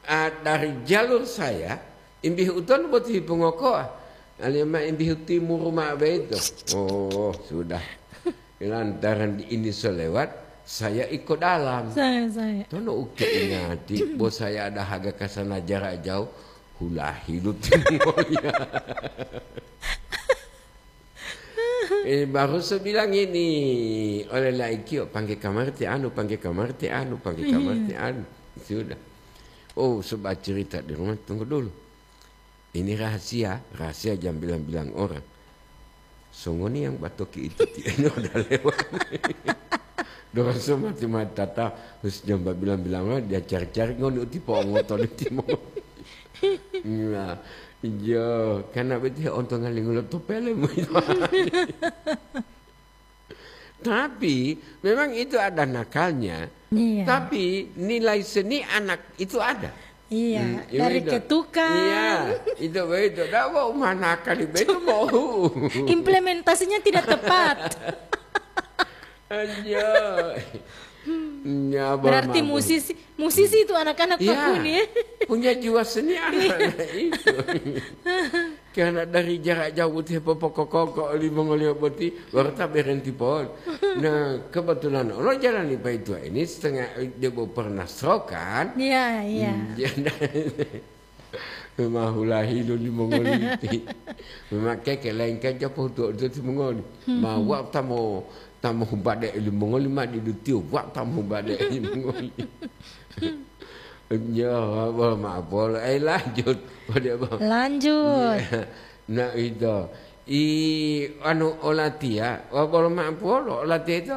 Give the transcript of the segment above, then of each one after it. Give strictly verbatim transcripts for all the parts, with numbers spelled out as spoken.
Ah, dari jalur saya, imbihu utonu boti hipungokoa. Alima imbihu timuru ma'o beito. Oh, sudah. Lantaran ini selewat, saya iko dalam. Saya, saya. Tono uke ingati, bo saya ada haga kasana jarak jauh, hulahi lu timur ya. Eh, baru saya bilang ini oleh laikio, "Pangge kamar ti anu, pangge kamar ti anu, pangge kamar ti anu." Sudah. Oh, sebab cerita di rumah, tunggu dulu. Ini rahasia, rahasia jam bilang-bilang orang. Songoni yang batoki itu ti eno udah lewat. Dorong semati mata ta, terus jam bilang-bilang orang, dia cari-cari ngoni uti po ngoto di timur. Nah, iya, karena betul ontong ngalingula to pelem itu. Tapi memang itu ada nakalnya. Iya. Tapi nilai seni anak itu ada. Iya, hmm, dari itu. Ketukan. Iya, itu begitu. Dah mau mana kali begitu mau. Implementasinya tidak tepat. Aja. Berarti musisi, musisi itu anak-anak Pak Kuni, ya? Punya jiwa seni anak-anak itu. Karena dari jarak jauh boti popokokoko olimongoliyo boti, baru ta berhenti pon. Nah, kebetulan olo jalan li Paitua ini setengah debo pernah stroke kan? Iya, iya. Hmm, iya, nah. Memang hulahi lo limongoli ti. Memang keke lain kan japo tu tu timongoli. Ma wa tamo, tamo humbade limongoli ma di dutio, wa tamo humbade limongoli. Ya, apa maaf, eh, lanjut. Pada apa? Lanjut. Iya. Nah, itu. I, anu, olatia, wa bolo maaf, bolo olatia itu,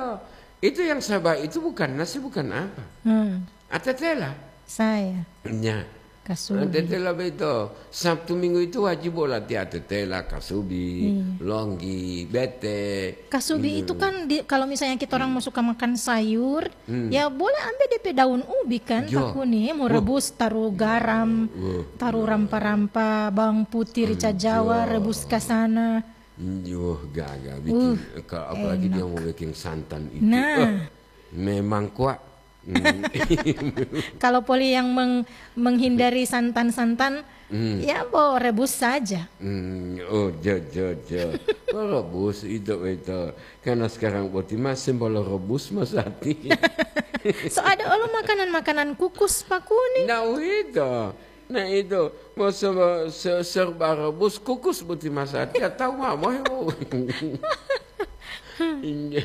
itu yang sabar itu bukan nasi, bukan apa. Hmm. Atetela. Saya. Ya. Kasubi. Atetela beto. Sabtu Minggu itu wajib olatia atetela, kasubi, iya, longgi, bete. Kasubi itu kan di, kalau misalnya kita orang mau suka makan sayur, hmm, ya boleh ambil D P daun ubi kan, Pak Kuni, mau rebus, taruh garam, taruh rampa-rampa, bawang putih, rica Jawa, rebus ke sana. Wah, gaga bikin, kalau apalagi dia mau bikin santan itu. Nah. Wah, memang kuat. Hmm. Kalau poli yang meng-, menghindari santan-santan, hmm, ya bo rebus saja. Hmm, oh, jo, jo, jo. Oh, rebus itu, itu. Karena sekarang boti masih bolo rebus masati. So ada olo makanan-makanan kukus, Pak Kuni. Nah, itu. Nah, itu. Mau se-, se-, serba rebus kukus boti masati. Ya tahu mah, mau. Iya.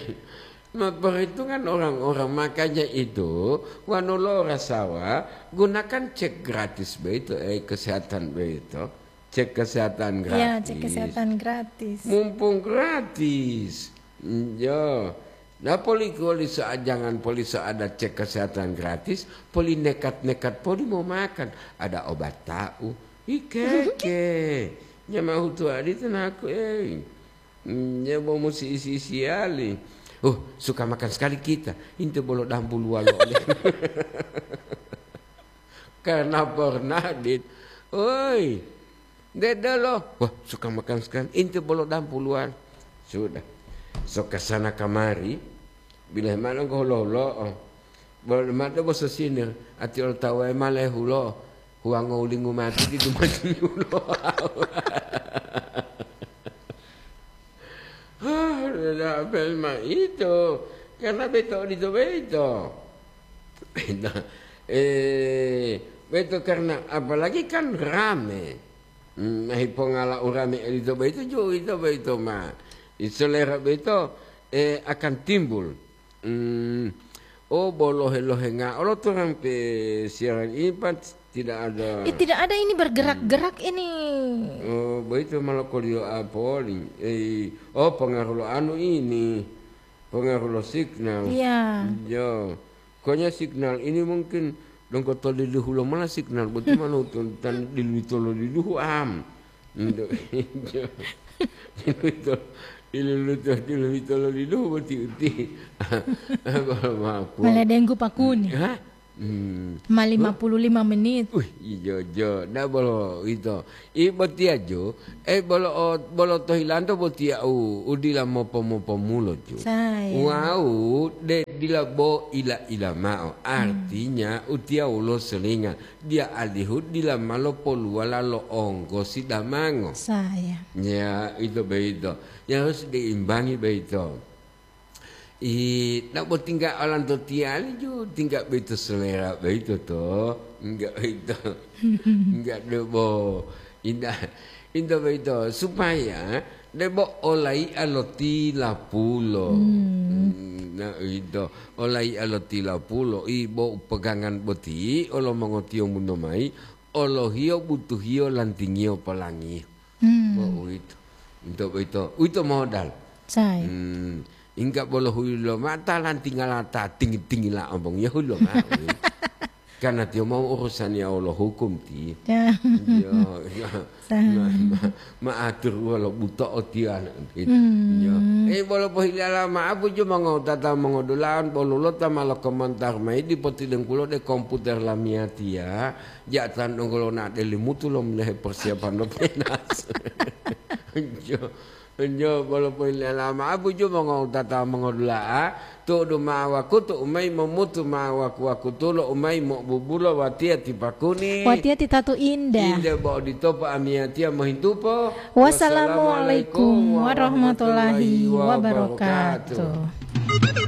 Nah, perhitungan orang-orang, makanya itu, wanu lo rasawa, gunakan cek gratis begitu, eh, kesehatan begitu. Cek kesehatan gratis. Ya, cek kesehatan gratis. Mumpung gratis. Iya. Nah, poli, poli soal, jangan poli soal ada cek kesehatan gratis, poli nekat-nekat poli mau makan. Ada obat tahu. Ikeke. Nyamahu tuadi tenaku, eh. Hmm, ya, bo musi isi-isiali. Oh, suka makan sekali kita. Inte bolo dampu luwalo. Karena pernah, Dit. Oi, dedelo. Wah, suka makan sekali. Inte bolo dampu luwalo. Sudah. So ke sana kamari. Bila mana ko holo-holo. Bolo mate boso sini. Ati olo tawa male hulo. Huwango ulingu mati di dumati hulo. Ah, udah apel ma itu. Karena beto odito beto. Nah, eh, beto karena apalagi kan rame. Hmm, nah, hipongala urame odito beto jo ito beto ma. Isolera beto, eh, akan timbul. Hmm. Oh, bo lohe-lohenga olo to sampai siaran ini, Pak, tidak ada. Eh, tidak ada ini bergerak-gerak ini. Oh, begitu malah koliyo apa oli? Eh, oh, pengaruh lo anu ini. Pengaruh lo signal. Iya. Iya. Pokoknya signal ini mungkin dongko toliluhu lo mana signal, betul mana utun tan diluito lo liluhu am. Untuk itu, iluluto, iluluto loliluhu boti uti. Apa maaf. Malah denggu Pak Kuni. Hah? Hmm. Ma lima puluh lima menit. Wih, ijo, jo. Ndak bolo itu. I botiya jo. Eh, bolo, bolo tohilanto botiya u, udila mopo-mopo mulo jo. Saya. Wau, de Dila bo ila-ila mao, artinya utiya wolo selinga, dia alihu dila ma lopoluwala lo onggosi damango. Saya. Ya, itu beito. Ya harus diimbangi beito. I, nak bo tingga olanto tiyali ju, tingga beito selera beito to. Enggak beito. Enggak debo. Indah. Indah beito. Supaya debo olai'a lo tilapulo. Hmm. Hmm, nah, ito. Olai'a lo tilapulo. I bo pegangan boti, olo mongotiyo mundo mai, olohiyo butuhiyo lantingiyo polangi. Hmm. Bo uwito. Ito boyito. Uwito modal. Saya. Hmm. Ingga bolo huyi lomao ta lantingala ta tingi-tingila omongiyo huyi lomao. Karena tiyo mau urusaniya wolo hukum ti. Ya. Iya, iya. Sa- Ma, ma, maatur wolo buto'o tiyo anak. Hmm. Iya. Eh, bolo pohilala ma'apu jo mongotata mongodulaon bolo lota ma lokomentar mayi dipotilengkulo de komputer lamiyatiya. Ja'atan donggo lona'o delimutu lo menehe persiapan lo penas. Enjo, enjo, bolo poilala ma'o buju mongowutata mongodula'a, tu'udu ma'o wakutu umayi momutu ma'o waku-wakutulo umayi mo'obubulo watiya ti pakuni. Watiya ti tatu indah. Inde bo odito po amiyatiya mohintupo. Wassalamualaikum warahmatullahi wabarakatuh.